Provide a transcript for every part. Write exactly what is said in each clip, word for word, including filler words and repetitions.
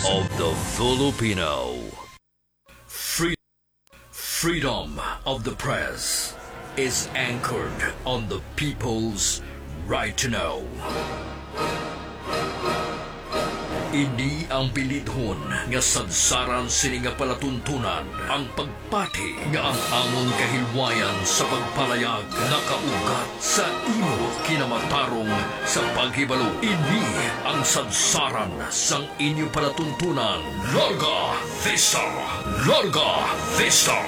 of the Filipino. Free- freedom of the press is anchored on the people's right to know. Ini ang bilidhon nga sadsaran sini nga palatuntunan, ang pagpati nga ang amon kahilwayan sa pagpalayag nakaugat sa imo kinamatarong sa paghibalo. Ini ang sadsaran sang inyo palatuntunan. Larga Vista! Larga Vista!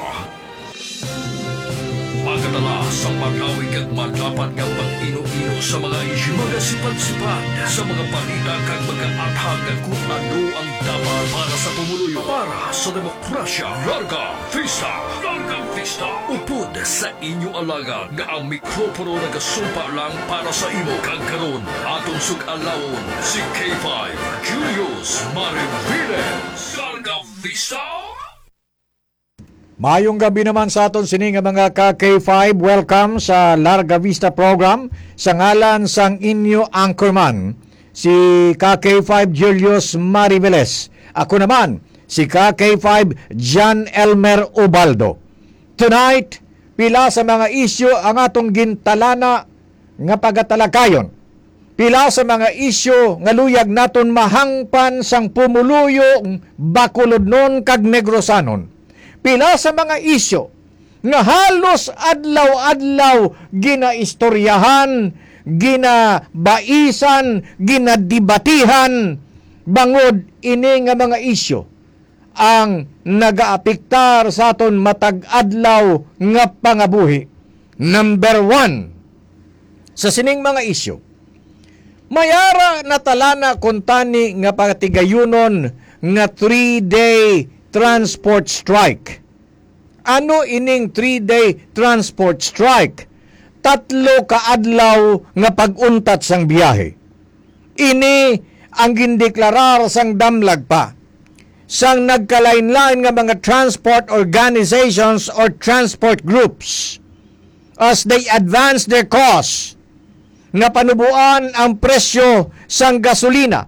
Magadala sa malawig kag madapat nga pag-ino-ino sa mga isyu, magasipat-sipat sa mga balita kag mag-aathag kon ano ang dapat para sa pumuluyo, para sa demokrasya. Larga Vista! Larga Vista! Upod sa inyo alagad nga ang mikropono nagasumpa lang para sa imo. Kag karon, aton sug-alawon si K five Julius Mariviles. Larga Vista! Maayong gabi naman sa aton sini nga mga ka K five. Welcome sa Larga Vista program. Sa ngalan sang inyo anchorman, si ka K five Julius Mariveles. Ako naman, si ka K five John Elmer Ubaldo. Tonight, pila sa mga isyu ang atong gintalana nga pagatalakayon. Pila sa mga isyu nga luyag naton mahangpan sang pumuluyong Bacolodnon kag Negrosanon. Pila sa mga isyu nga halos adlaw-adlaw ginaistoryahan, ginabaisan, ginadebatihan, bangod ini nga mga isyu ang nagaapektar sa aton matag adlaw nga pangabuhi. Number one, sa sining mga isyu, may ara natalana kuntani nga patigayunon nga three-day transport strike. Ano ining three-day transport strike? Tatlo ka adlaw nga pag-untat sang biyahe. Ini ang gindeklarar sang damlag pa sang nagkalain-lain nga mga transport organizations or transport groups as they advance their cause nga panuboan ang presyo sang gasolina,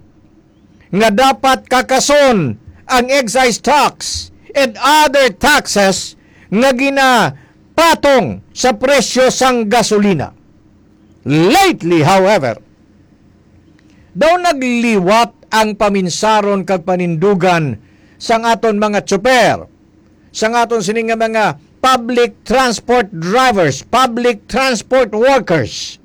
nga dapat kakason ang excise tax and other taxes nga ginapatong sa presyo sang gasolina. Lately, however, daw nagliwat ang paminsaron kag panindugan sang aton mga tsuper, sang aton sini nga mga public transport drivers, public transport workers.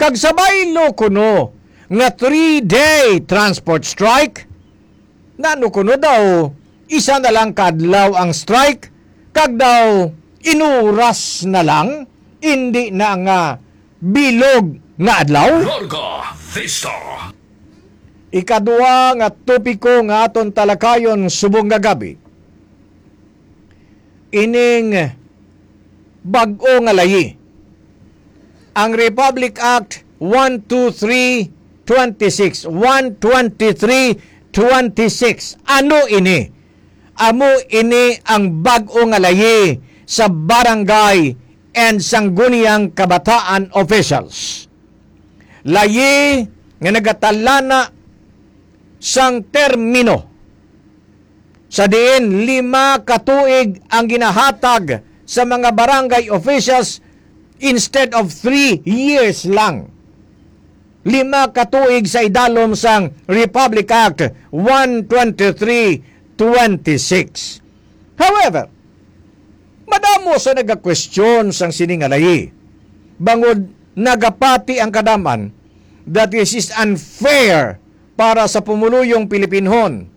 Kag sa baylo kuno nga three-day transport strike, nano kuno daw isa na lang ka adlaw ang strike, kag daw inuras na lang, indi na nga bilog nga adlaw? Larga Vista. Ikadua nga topiko nga aton talakayon subong nga gabi, ining bag-o nga layi, ang Republic Act one two three twenty-six, one twenty-three twenty-six. Ano ini? Amo ini ang bag-o nga layi sa barangay and sangguniang kabataan officials. Layi nga nagatalana sang termino, sa diin lima ka tuig ang ginahatag sa mga barangay officials instead of three years lang. Lima ka tuig sa idalom sang Republic Act one twenty-three twenty-six. However, madamo sa nagakwestiyon sang sini nga layi, bangod nagapati ang kadam-an that this is unfair para sa pumuluyong Pilipinhon,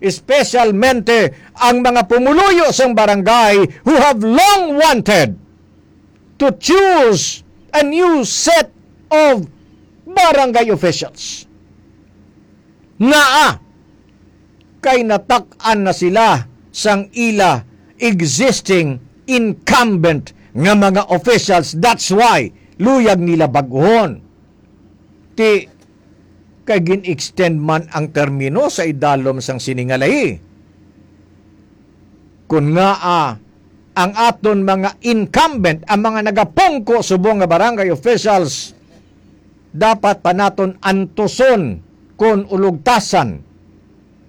especialmente ang mga pumuluyo sang barangay who have long wanted to choose a new set of barangay officials. Ngaa kay natak-an na sila sang ila existing incumbent nga mga officials. That's why luyag nila bag-ohon. Ti, kay gin-extend man ang termino sa idalom sang sini nga layi. Kun ngaa ang aton mga incumbent, ang mga nagapungko subong nga barangay officials, dapat pa naton antuson kon ulugtasan